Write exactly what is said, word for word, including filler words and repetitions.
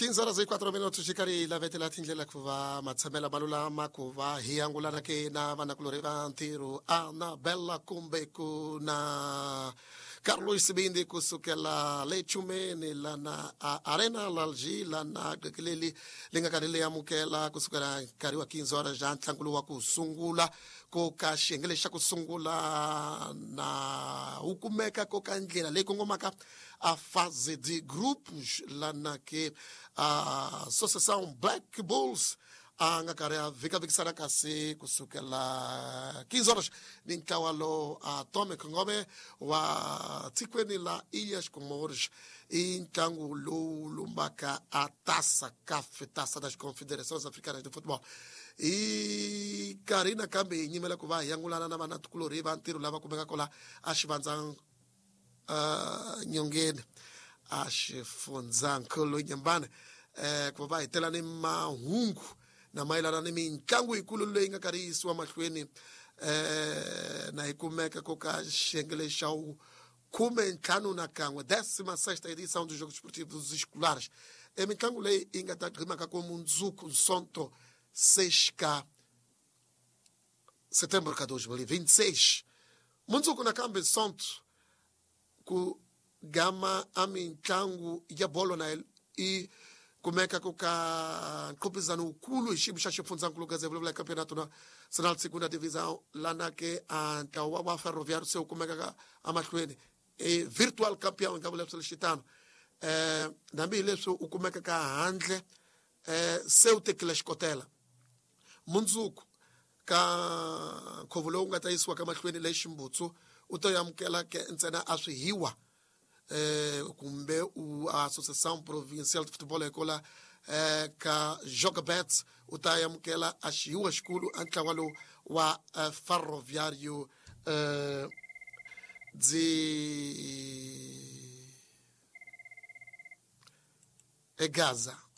quinze horas e quatro minutos xi karhi hi lavetela tindlela ku va matshamela ma lulama ku va hi angulana ke na vanakulorhi va ntirho Anabela kumbe ku na Carlos Sibindi kusukela le Chumeni lana a Arena Lalji lana qekeleli li nga karhi li amukela kusukela nkarhi wa quinze horas ja ntlangu lowu wa ku sungula ko ka xiyenge lexi xa ku sungula na wu kumeka ko ka ndlela leyi kongomaka a fase de grupos lana ke a Associação Black Bulls a nga karhi a vhikavikisana kasi kusukela quinze horas ni ntlawa lowu a Tome Khongome wa tikweni la Ilhas Comores i ntlangu lowu lumbaka a Taça CAF, Taça das Confederações Africanas de Futebol. I karhi nakambe hi nyimela ku va hi angulana na vanatikulorhi va ntirho lava kumekaka la a xivandza uh, nyongeni a xifundzankulu Nyembane eh ku va hi tela ni mahungu na mayelana ni mitlangu yikulu leyi nga karhi yi yisiwa mahlweni eh na yi kumeka ko ka xiyenge lexa wu khume ntlhanu na kan'we décima sexta edição dos Jogos Esportivos Escolares. E mitlangu leyi yi nga ta gqimaka ko mundzuku Nsonto seis ka setembro ka dois mil e vinte e seis. Mundzuku nakambe Nsonto ku gama a mitlangu ya bolo na i kumeka ku ka nqopizano wukulu hi xiyimo xa xifundzankulu ka vulavula campeonato nacional de segunda divisão lana ke a ntlawa wa Ferroviário se wu kumekaka emahlweni e virtual campeão hi nga vula swilo xitano eh nambi hi leswi u kumeka ka handle eh se wu tekile xikotela mundzuku ka nkhuvo lowu nga ta yisiwa ka mahlweni le Ximbutsu u ta amukela ke ntsena a swihiwa eh kumbe u Associação Provincial de Futebol ekola eh ka Jogabet u ta amukela a xihiwa xikulu a ntlawa lowu wa eh, Ferroviário eh de Gaza.